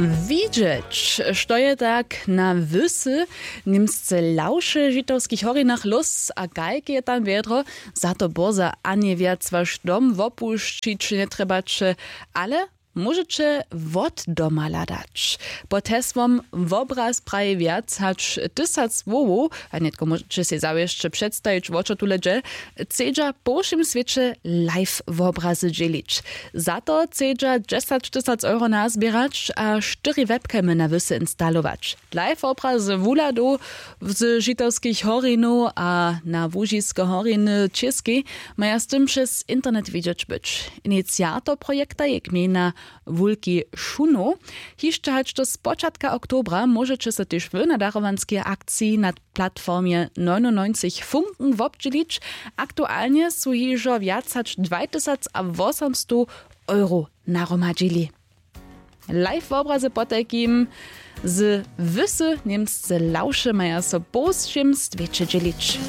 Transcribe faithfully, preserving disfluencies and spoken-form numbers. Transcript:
Widźeć, što je tak na wysy, němsce lawše w žitowskich horinach lós a kajke je tam wjedro. Za to bórza a njewjac waš dom wopušćić njetrjebaće, ale móžeće wot doma hladać. Pod hesłom wobraz praji wjac hač tysac słowow, a nětko móžeće sej zawěsće předstajić wo čo tule dźe. Chcedźa po wšěm swěće live wobrazy dźělić. Za to chcedźa dźesać tysac euro nazběrać a štyri webcamy na wysy instalować. Live wobrazy wuhladow z žitowskich horinow a na łužiske horiny w čěskej maja z tym přez internet widźeć być. Iniciator projekta je gmejna wulki šunow. Hišće hač do spočatka oktobra móžeće so tež wy na darowanskej akciji na platformje nojnunojnceńch funken wobdźělić. Aktualnje su hižo wjac hač dwajtysacwosomstow euro nahromadźili. Live wobrazy potajkim z wysy němsce lawše maja so po wšěm swěće dźělić.